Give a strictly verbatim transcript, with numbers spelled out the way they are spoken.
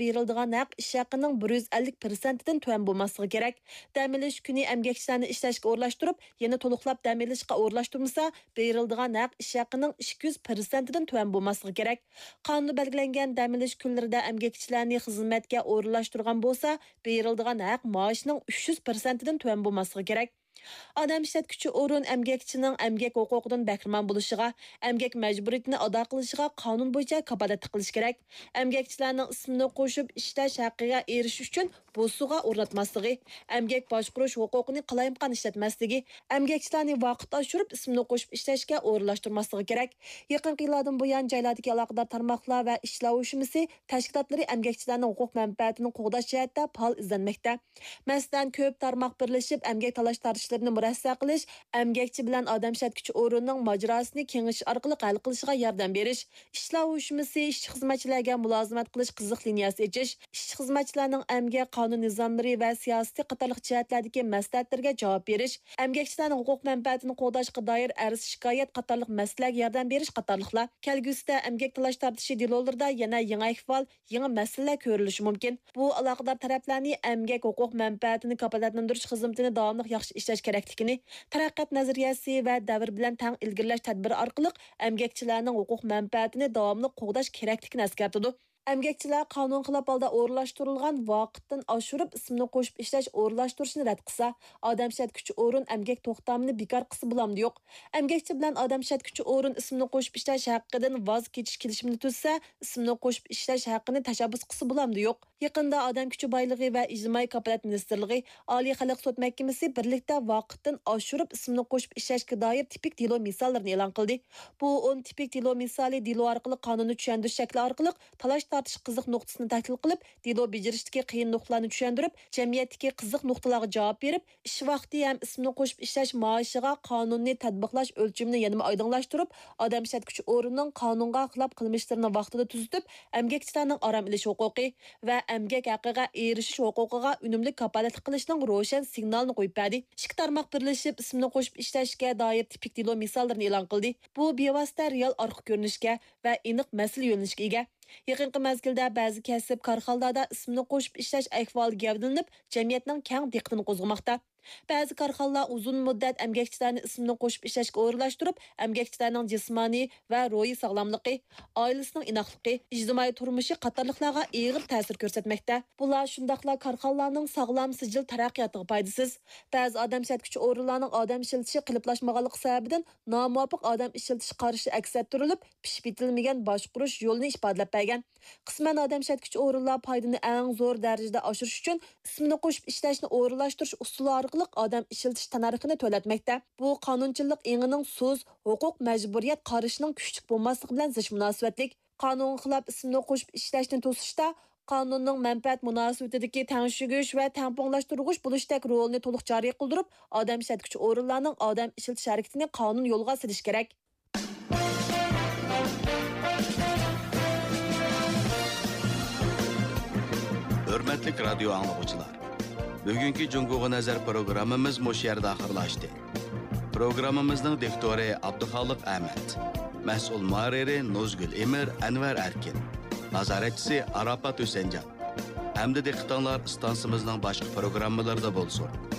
بېرىلىدىغان ھەق ئىش ھەققىنىڭ بىر يۈز ئەللىك پىرسەنتىدىن تۆۋەن بولماسلىقى كېرەك. دەم ئېلىش كۈنى ئەمگەكچىلەرنى ئىشلەشكە ئورۇنلاشتۇرۇپ، يەنە تولۇقلاپ دەم ئېلىشقا ئورۇنلاشتۇرمىسا، بېرىلىدىغان ھەق ئىش ھەققىنىڭ ئىككى يۈز پىرسەنتىدىن تۆۋەن بولماسلىقى كېرەك. قانۇندا بەلگىلەنگەن دەم ئېلىش كۈنلىرىدە ئەمگەكچىلەرنى خىزمەتكە ئورۇنلاشتۇرغان بولسا، بېرىلىدىغان ھەق مائاشنىڭ ئۈچ يۈز پىرسەنتىدىن تۆۋەن بولماسلىقى كېرەك. ئادەم ئىشلەتكۈچى ئورۇن ئەمگەكچىنىڭ ئەمگەك ھوقۇقىدىن بەھرىمەن بولۇشىغا، ئەمگەك مەجبۇرىيىتىنى ئادا قىلىشىغا قانۇن بويىچە كاپالەتلىك قىلىشى كېرەك. ئەمگەكچىلەرنىڭ ئىسمىنى قوشۇپ ئىشلەش ھەققىگە ئېرىشىش ئۈچۈن بوسۇغا ئورناتماسلىقى، ئەمگەك باشقۇرۇش ھوقۇقىنى قالايمىقان ئىشلەتمەسلىكى، ئەمگەكچىلەرنى ۋاقىت ئاشۇرۇپ ئىسمىنى قوشۇپ ئىشلەشكە ئورۇنلاشتۇرماسلىقى كېرەك. يېقىنقى يىللاردىن بۇيان، جايلاردىكى ئالاقىدار تارماقلار ۋە ئىشلار ئۇيۇشمىسى تەشكىلاتلىرى ئەمگەكچىلەرنىڭ ھوقۇق مەنپەئەتىنى قوغداش جەھەتتە پائال ئىزدەنمەكتە. مەسىلەن، كۆپ تارماق بىرلىشىپ ئەمگەك تالاش-تارتىشلىرىنى مۇرەسسە قىلىش، ئەمگەكچى بىلەن ئادەم ئىشلەتكۈچى ئورۇننىڭ ماجىراسىنى كېڭىشىش ئارقىلىق ھەل قىلىشىغا ياردەم بېرىش، ئىشلار ئۇيۇشمىسى ئىشچى-خىزمەتچىلەرگە مۇلازىمەت قىلىش قىزىق لىنىيەسى ئېچىش، ئىشچى-خىزمەتچىلەرنىڭ ئەمگەك قانۇن نىزاملىرى ۋە سىياسىتى قاتارلىق جەھەتلەردىكى مەسلىھەتلىرىگە جاۋاب بېرىش، ئەمگەكچىلەرنىڭ ھوقۇق مەنپەئەتىنى قوغداشقا دائىر ئەرز-شىكايەت قاتارلىق مەسىلىلەرگە ياردەم بېرىش قاتارلىقلار. كەلگۈسىدە ئەمگەك تالاش-تارتىشى دېلولىرىدا يەنە يېڭى ئەھۋال، يېڭى مەسىلىلەر كۆرۈلۈشى مۇمكىن. بۇ ئالاقىدار تەرەپلەرنى ئەمگەك ھوقۇق مەنپەئەتىنى كاپالەتلەندۈرۈش خىزمىتىنى داۋاملىق ياخشى ئىشلەش كېرەكلىكىنى، تەرەققىيات نەزەرىيەسى ۋە دەۋر بىلەن تەڭ ئىلگىرىلەش تەدبىرى ئارقىلىق ئەمگەكچىلەرنىڭ ھوقۇق مەنپەئەتىنى داۋاملىق قوغداش كېرەكلىكىنى ئەسكەرتىدۇ. ئەمگەكچىلەر قانۇن خىلاپ ھالدا ئورۇنلاشتۇرۇلغان، ۋاقىتتىن ئاشۇرۇپ ئىسمىنى قوشۇپ ئىشلەش ئورۇنلاشتۇرۇشنى رەت قىلسا، ئادەم ئىشلەتكۈچى ئورۇن ئەمگەك توختامىنى بىكار قىلسا بولامدۇ يوق؟ ئەمگەكچى بىلەن ئادەم ئىشلەتكۈچى ئورۇن ئىسمىنى قوشۇپ ئىشلەش ھەققىدىن ۋاز كېچىش كېلىشىمىنى تۈزسە، ئىسمىنى قوشۇپ ئىشلەش ھەققىنى تەشەببۇس قىلسا بولامدۇ يوق؟ يېقىندا ئادەم كۈچى بايلىقى ۋە ئىجتىمائىي كاپالەت مىنىستىرلىقى، ئالىي خەلق سوت مەھكىمىسى بىرلىكتە ۋاقىتتىن ئاشۇرۇپ ئىسىمنى قوشۇپ ئىشلەشكە دائىر تىپىك دېلو مىساللىرىنى ئېلان قىلدى. بۇ ئون تىپىك دېلو مىسالى دېلو ئارقىلىق قانۇننى چۈشەندۈرۈش شەكلى ئارقىلىق تالاش-تارتىش قىزىق نۇقتىسىنى تەھلىل قىلىپ، دېلو بېجىرىشتىكى قىيىن نۇقتىلارنى چۈشەندۈرۈپ، جەمئىيەتتىكى قىزىق نۇقتىلارغا جاۋاب بېرىپ، ئىش ۋاقتى ھەم ئىسمىنى قوشۇپ ئىشلەش مائاشىغا قانۇننى تەتبىقلاش ئۆلچىمىنى يەنىمۇ ئايدىڭلاشتۇرۇپ، ئادەم ئىشلەتكۈچى ئورۇننىڭ قانۇنغا خىلاپ قىلمىشلىرىنى ۋاقتىدا تۈزىتىپ، ئەمگەكچىلەرنىڭ ئارام ئېلىش ھوقۇقى ۋە ئەمگەك ھەققىگە ئېرىشىش ھوقۇقىغا ئۈنۈملۈك كاپالەتلىك قىلىشنىڭ روشەن سىگنالىنى قويۇپ بەردى. ئىككى تارماق بىرلىشىپ ئىسمىنى قوشۇپ ئىشلەشكە دائىر تىپىك دېلو مىساللىرىنى ئېلان قىلدى. بۇ بىۋاسىتە رېئال ئارقا كۆرۈنۈشكە ۋە ئېنىق مەسىلە يۆنىلىشىگە ئىگە. يېقىنقى مەزگىلدە بەزى كەسىپ كارخانىلاردا ئىسمىنى قوشۇپ ئىشلەش ئەھۋالى گەۋدىلىنىپ، جەمئىيەتنىڭ كەڭ دىققىتىنى قوزغىماقتا. بەزى كارخانىلار ئۇزۇن مۇددەت ئەمگەكچىلەرنى ئىسمىنى قوشۇپ ئىشلەشكە ئورۇنلاشتۇرۇپ، ئەمگەكچىلەرنىڭ جىسمانىي ۋە روھىي ساغلاملىقى، ئائىلىسىنىڭ ئىناقلىقى، ئىجتىمائىي تۇرمۇشى قاتارلىقلارغا ئېغىر تەسىر كۆرسەتمەكتە. بۇلار شۇنداقلا كارخانىلارنىڭ ساغلام سىجىل تەرەققىياتىغا پايدىسىز. بەزى ئادەم ئىشلەتكۈچى ئورۇنلارنىڭ ئادەم ئىشلىتىشى قېلىپلاشمىغانلىقى سەۋەبىدىن نامۇۋاپىق ئادەم ئىشلىتىش قارىشى ئەكس ئەتتۈرۈلۈپ، پىشىپ يېتىلمىگەن باشقۇرۇش يولىنى ئىپادىلەپ بەرگەن. قىسمەن ئادەم ئىشلەتكۈچى ئورۇنلار پايدىنى ئەڭ زور دەرىجىدە ئاشۇرۇش ئۈچۈن ئىسمىنى قوشۇپ ئىشلەشنى ئورۇنلاشتۇرۇش ئۇسۇلى ئارقىلىق ئادەم ئىشلىتىش تەننەرخىنى تۆۋەنلەتمەكتە. بۇ قانۇنچىلىق ئېڭىنىڭ سۇس، ھوقۇق مەجبۇرىيەت قارىشىنىڭ كۈچلۈك بولماسلىقى بىلەن زىچ مۇناسىۋەتلىك. قانۇنغا خىلاپ ئىسمىنى قوشۇپ ئىشلەشنى توسۇشتا، قانۇننىڭ مەنپەئەت مۇناسىۋىتىدىكى تەڭشىگۈچ ۋە تەڭپۇڭلاشتۇرغۇچ بولۇشتەك رولىنى تولۇق جارى قىلدۇرۇپ، ئادەم ئىشلەتكۈچى ئورۇنلارنىڭ ئادەم ئىشلىتىش ھەرىكىتىنى قانۇن يولغا سېلىش كېرەك. ھۆرمەتلىك رادىيو ئاڭلىغۇچىلار، بۈگۈنكى جۇڭگوغا نەزەر پروگراممىمىز مۇشۇ يەردە ئاخىرلاشتى. پروگراممىمىزنىڭ دىكتورى ئابدۇخالىق ئەمەت، مەسئۇل مۇھەررىرى نۇزگۈل ئىمىر، ئەنۋەر ئەركىن، نازارەتچىسى ئاراپات ھۈسەنجان. ئەمدى دىققىتىڭلار ئىستانسىمىزنىڭ باشقا پروگراممىلىرىدا بولسۇن.